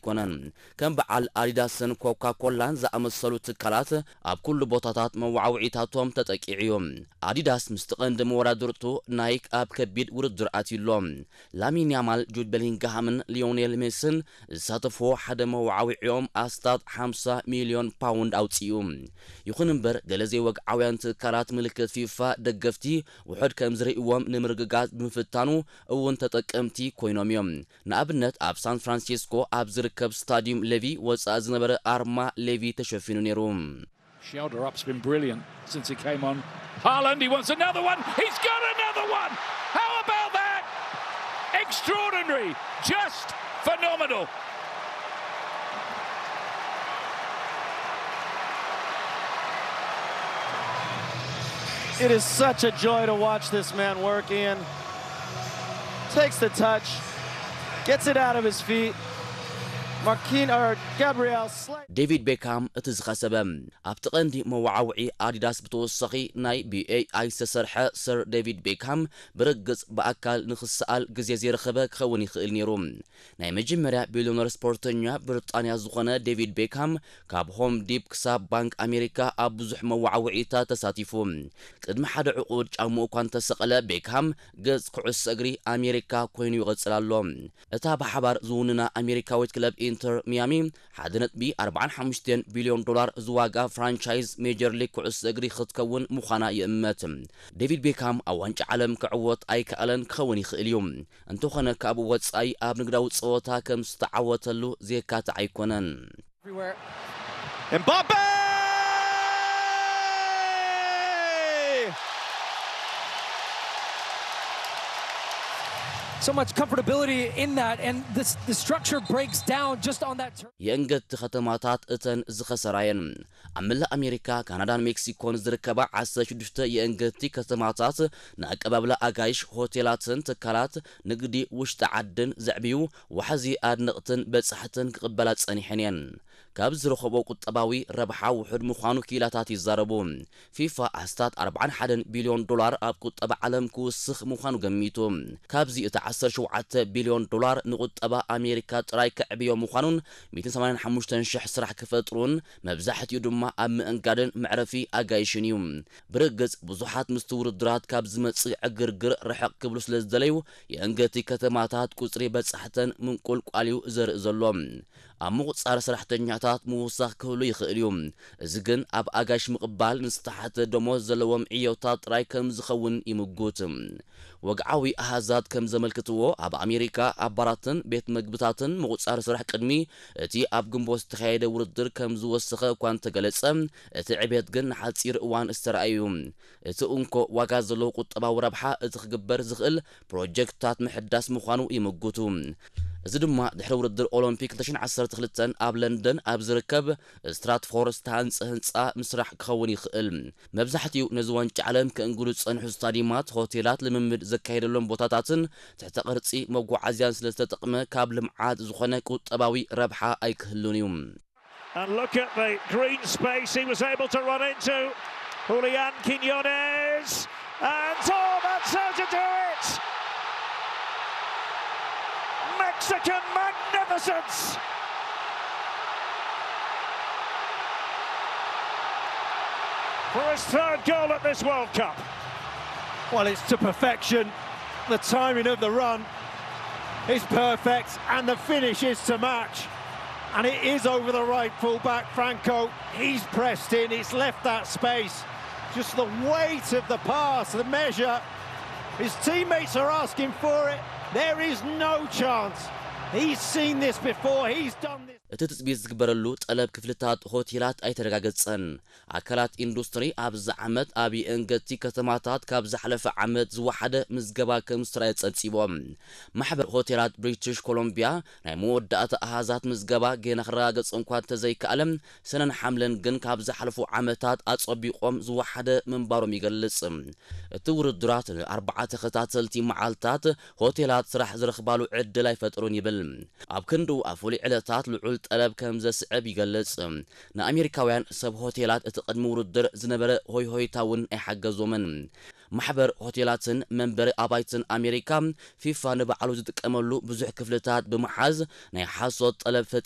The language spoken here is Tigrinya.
ኣይኮነን። ከም በዓል ኣዲዳስን ኮካ ኮላን ዝኣመሰሉ ትካላት ኣብ ኩሉ ቦታታት መወዓውዒታቶም ተጠቂዑ እዩ። ኣዲዳስ ምስቲ ቀንዲ መወዳድርቱ ናይክ ኣብ ከቢድ ውድድር ኣትዩ ኣሎ። ላሚን ያማል፣ ጁድ ቤሊንግሃምን ሊዮኔል ሜስን ዝሳተፍዎ ሓደ መወዓውዒኦም ኣስታት ሓምሳ ሚልዮን ፓውንድ ኣውጺኡ። ይኹን እምበር፣ ገለ ዘይወግዓውያን ትካላት ምልክት ፊፋ ደገፍቲ ውሑድ ከም ዝርእይዎም ንምርግጋጽ ብምፍታኑ እውን ተጠቀምቲ ኮይኖም እዮም። ንኣብነት፣ ኣብ ሳን ፍራንሲስኮ ኣብ ዝርከብ ስታዲዩም ሌቪ ወጻኢ ዝነበረ ኣርማ ሌቪ ተሸፊኑ ነይሩ። Shoulder up's been brilliant since he came on. Haaland, he wants another one. He's got another one. How about that? Extraordinary. Just phenomenal. It is such a joy to watch this man work, Ian. Takes the touch, gets it out of his feet. Marquinhos or Gabriel slay. ዴቪድ ቤካም እቲ ዝኸሰበ። ኣብቲ ቀንዲ መወዓውዒ ኣዲዳስ ብተወሳኺ ናይ ብኤኣይ ዝተሰርሐ ሰር ዴቪድ ቤካም ብርግጽ ብኣካል ንኽሰኣል ግዜ ዘይረኸበ ክኸውን ይኽእል ነይሩ። ናይ መጀመርያ ቢልዮነር ስፖርተኛ ብሪጣንያ ዝኾነ ዴቪድ ቤካም ካብ ሆም ዲፕ ክሳብ ባንክ ኣሜሪካ ኣብ ብዙሕ መወዓውዒታት ተሳቲፉ። ቅድሚ ሓደ ዕቑድ ጫምኡ እኳ እንተሰቐለ፣ ቤካም ገጽ ኩዕሶ እግሪ ኣሜሪካ ኮይኑ ይቐጽል ኣሎ። እታ ብሓባር ዝውንና ኣሜሪካዊት ክለብ ኢንተር ሚያሚ ሓደ ነጥቢ ኣርባዓን ሓሙሽተን ቢልዮን ዶላር ዝዋጋ ፍራንቻይዝ ሜጀር ሊግ ኩዕሶ እግሪ ክትከውን ምዃና ይእመት። ዴቪድ ቤካም ኣብ ዋንጫ ዓለም ክዕወት ኣይከኣለን ክኸውን ይኽእል እዩ። እንተኾነ፣ ካብኡ ወጻኢ ኣብ ንግዳዊ ጸወታ ከም ዝተዓወተሉ ዘየካትዕ ኣይኮነን። Mbappe! So much comfortability in that, and this, the structure breaks down just on that turn. የእንገቲ ከተማታት እተን ዝኸሰራ እየን። ኣብ መላእ ኣሜሪካ፣ ካናዳን ሜክሲኮን ዝርከባ ዓሰርተ ሽዱሽተ የእንገቲ ከተማታት ንኣቀባብላ ኣጋይሽ፣ ሆቴላትን ትካላት ንግዲ ውሽጢ ዓድን ዘዕብዩ ዋሕዚ ኣድነቕትን በጻሕትን ክቕበላ ጸኒሐን እየን። ካብ ዝረኸቦ ቁጠባዊ ረብሓ ውሑድ ምዃኑ ክኢላታት ይዛረቡ። ፊፋ ኣስታት ኣርባዓን ሓደን ቢልዮን ዶላር ኣብ ቁጠባ ዓለም ክውስኽ ምዃኑ ገሚቱ። ካብዚ እቲ ዓሰርተ ሸውዓተ ቢልዮን ዶላር ንቁጠባ ኣሜሪካ ጥራይ ከዕብዮ ምዃኑን ሚእትን ሰማንያን ሓሙሽተን ሽሕ ስራሕ ክፈጥሩን መብዛሕትኡ ድማ ኣብ ምእንጋድን መዕረፊ ኣጋይሽን እዩ። ብርግጽ ብዙሓት ምስቲ ውድድራት ካብ ዝመጽእ ዕግርግር ርሕቕ ክብሉ ስለ ዝደለዩ የእንገቲ ከተማታት ቁጽሪ በጻሕተን ምንቁልቋል እዩ ዘርኢ ዘሎ። ኣብ ምቑጻር ሰራሕተኛታት ምውሳኽ ክህሉ ይኽእል እዩ። እዚ ግን ኣብ ኣጋይሽ ምቕባል ንዝተሓተ ደሞዝ ዘለዎም ዕዮታት ጥራይ ከም ዝኸውን ይምጉት። ወግዓዊ ኣሃዛት ከም ዘመልክትዎ፣ ኣብ ኣሜሪካ ኣብ ባራትን ቤት መግብታትን ምቑጻር ስራሕ ቅድሚ እቲ ኣብ ግንቦት ዝተኻየደ ውድድር ከም ዝወሰኸ እኳ እንተገለጸ፣ እቲ ዕቤት ግን ንሓጺር እዋን ዝተራእየ እዩ። እቲ እንኮ ዋጋ ዘለዎ ቁጠባዊ ረብሓ እቲ ክግበር ዝኽእል ፕሮጀክትታት ምሕዳስ ምዃኑ ይምጉቱ። እዚ ድማ ድሕሪ ውድድር ኦሎምፒክ ክልተ ሽሕን ዓሰርተ ክልተን ኣብ ለንደን ኣብ ዝርከብ ስትራትፎርድ ዝተሃንጸ ህንጻ ምስራሕ ክኸውን ይኽእል። መብዛሕትኡ ነዚ ዋንጫ ዓለም ከእንግዱ ዝጸንሑ ስታዲማት፣ ሆቴላት፣ ልምምድ ዘካየደሎም ቦታታትን ትሕተ ቅርጺ መጓዓዝያን ስለ ዝተጠቕመ ካብ ልምዓት ዝኾነ ቁጠባዊ ረብሓ ኣይክህሉን እዩ። And look at the green space he was able to run into. Julian Quinones. And oh, that's how to do it! Mexican magnificence! For his third goal at this World Cup. Well, it's to perfection. The timing of the run is perfect, and the finish is to match. And it is over the right fullback, Franco. He's pressed in, it's left that space. Just the weight of the pass, the measure. His teammates are asking for it. There is no chance. He's seen this before, he's done this. እቲ ትጽቢት ዝግበረሉ ጠለብ ክፍልታት ሆቴላት ኣይተረጋገጸን። ኣካላት ኢንዱስትሪ ኣብዚ ዓመት ኣብ የእንገቲ ከተማታት ካብ ዝሓለፈ ዓመት ዝወሓደ ምዝገባ ከም ዝተራየ ጸብጺቦም። ማሕበር ሆቴላት ብሪትሽ ኮሎምቢያ ናይ መወዳእታ ኣሃዛት ምዝገባ ገና ክረጋገጽ እንኳ እንተዘይከኣለ፣ ሰነን ሓምለን ግን ካብ ዝሓለፉ ዓመታት ኣጸቢቖም ዝወሓደ ምንባሮም ይገልጽ። እቲ ውድድራት ንኣርባዓ ተኸታተልቲ መዓልታት ሆቴላት ስራሕ ዝረኽባሉ ዕድል ኣይፈጠሩን ይብል። ኣብ ክንድኡ ኣብ ፍሉይ ዕለታት ልዑል ጠለብ ከም ዘስዕብ ይገልጽ። ንኣሜሪካውያን ሰብ ሆቴላት እቲ ቅድሚ ውድድር ዝነበረ ሆይሆይታ እውን ኣይሓገዞምን። ማሕበር ሆቴላትን መንበሪ ኣባይትን ኣሜሪካ፣ ፊፋ፣ ንባዕሉ ዝጥቀመሉ ብዙሕ ክፍልታት ብምሓዝ ናይ ሓሶት ጠለብ ፈጢሩ